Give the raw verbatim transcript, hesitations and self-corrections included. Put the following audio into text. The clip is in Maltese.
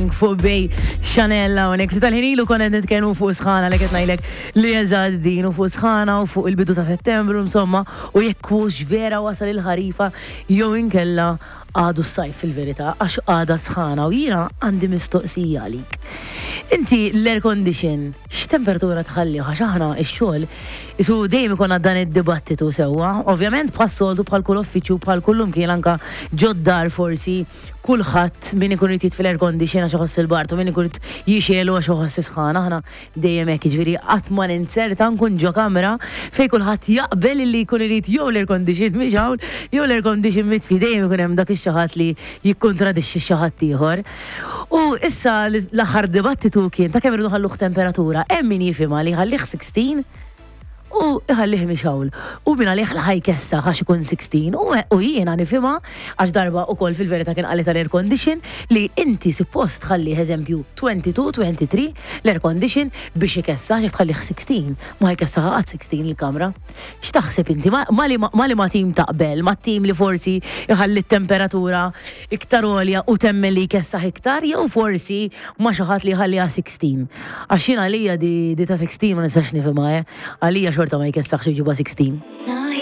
Pink fuq Bay Chanel hawnhekk. Ftit tal-ħin ilu konna qed nitkellmu fuq sħana li qed ngħidlek li eżatt din u fuq sħana u fuq il-bidu ta' Settembru, insomma, u jekk hux vera wasal il-ħarifa jew inkella għadu s-sajf fil-verità, għax għada sħana, u jiena għandi mistoqsija għalik. Inti l-air condition, x'temperatura tħalli? Għax aħna x-xogħol isu dejjem ikun dan id-dibattitu sewwa. Ovvjament bħas-soltu, bħal kull uffiċċju, bħal kullum kien, anka ġod-dar forsi, kulħadd min ikun irid fil-air condition għax iħoss il-bard u min ikun irid jixegħlu għax iħoss sħana. Aħna dejjem hekk, jiġifieri qatt ma ninzerta nkun ġo kamra fejn kulħadd jaqbel li jkun irid jew l-air condition mixgħul jew l-air condition mitfi. Dejjem ikun hemm dak ix-xi ħadd li jikkontradixxi xi ħadd ieħor. U issa l-aħħar dibattitu kien ta' kemm irridu ħalluh temperatura. Hemm min jifhimha li ħallih sittax u iħallih mixgħul. U min għalih la ħa jkessaħ għax ikun sittax u, u jiena nifhimha, għax darba ukoll fil-verità kien qalli tal-air condition li inti suppost tħallih, eżempju, tnejn u għoxrin, tlieta u għoxrin l-air condition biex ikessaħ. Jekk tħallih sittax, ma jkessaħ qatt sittax il-kamra. X'taħseb inti? Ma ma li ma li ma tim taqbel, ma tim li forsi iħalli t-temperatura iktar għolja u temmen li jkessaħ iktar, jew forsi ma xi ħadd li jħalliha sittax? Għax jien għalija di, di ta' sittax ma nistax nifhimha, eh. Għalija xorta ma jkessaħx ġuba sittax. Now